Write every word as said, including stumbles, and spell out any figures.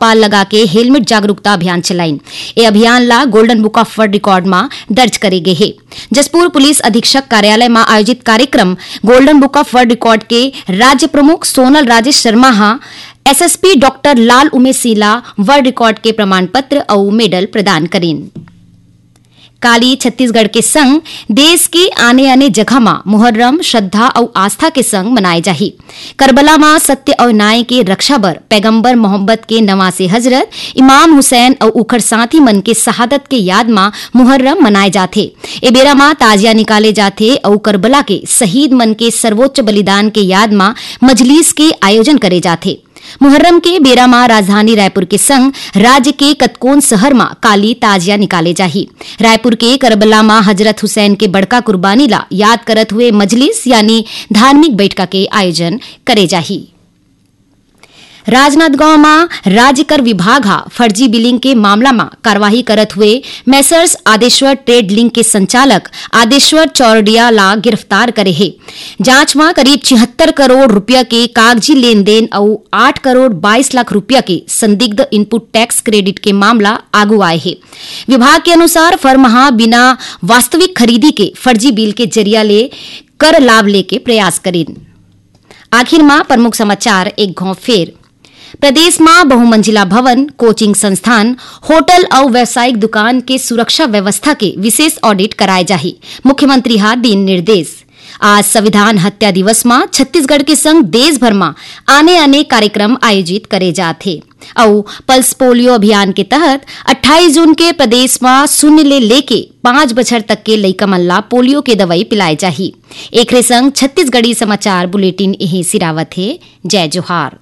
पाल लगा के हेलमेट जागरूकता अभियान चलाइन। ए अभियान ला Golden Book of World Record मा दर्ज करे गे हे। जशपुर पुलिस अधीक्षक कार्यालय मा आयोजित कार्यक्रम Golden Book of World Record के राज्य प्रमुख सोनल राजेश शर्मा हा एसएसपी डॉक्टर लाल उमेश सिंह ला वर्ल्ड रिकॉर्ड के प्रमाण पत्र अउ मेडल प्रदान करिन। काली छत्तीसगढ़ के संग देश के आने-आने जगह मा मुहर्रम श्रद्धा अउ आस्था के संग मनाए जाही। करबला मा सत्य अउ न्याय के रक्षा बर पैगंबर मोहम्मद के नवासे हजरत इमाम हुसैन अउ उखर साथी मन के शहादत के याद मा मुहर्रम मनाए जाथे। ए बेरा मा ताजिया निकाले जाथे अउ करबला के शहीद मन के सर्वोच्च बलिदान के याद मा मजलिस के आयोजन करे जाथे। मुहर्रम के बेरा मा राजधानी रायपुर के संग राज्य के कतकोन शहर मा काली ताजिया निकाले जाही। रायपुर के करबला मा हजरत हुसैन के बड़का कुर्बानी ला याद करत हुए मजलिस यानी धार्मिक बैठका के आयोजन करे जाही। राजनांदगांव मा राज्य कर विभाग हा फर्जी बिलिंग के मामला मा कार्रवाई करत हुए मेसर्स आदेश्वर ट्रेड लिंक के संचालक आदेश्वर चौरडिया ला गिरफ्तार करे हे। जांच मा करीब छिहत्तर करोड़ रुपया के कागजी लेन देन अउ आठ करोड़ बाईस लाख रुपया के संदिग्ध इनपुट टैक्स क्रेडिट के मामला आगू आए हे। विभाग के अनुसार फर्म हा बिना वास्तविक खरीदी के फर्जी बिल के जरिया ले कर लाभ लेके प्रयास करिन। आखिर मा प्रमुख समाचार एक घाव फेर। प्रदेश मा बहुमंजिला भवन, कोचिंग संस्थान, होटल अउ व्यावसायिक दुकान के सुरक्षा व्यवस्था के विशेष ऑडिट कराए जाही, मुख्यमंत्री हा दीन निर्देश। आज संविधान हत्या दिवस मा छत्तीसगढ़ के संग देश भर मा आने-आने कार्यक्रम आयोजित करे जात हे। अउ पल्स पोलियो अभियान के तहत अट्ठाईस जून के प्रदेश मा शून्य ले लेके पाँच बछर तक के लइका मन ला पोलियो के दवई पिलाए जाही। एकरे संग छत्तीसगढ़ी समाचार बुलेटिन इही सिरावत हे। जय जोहार।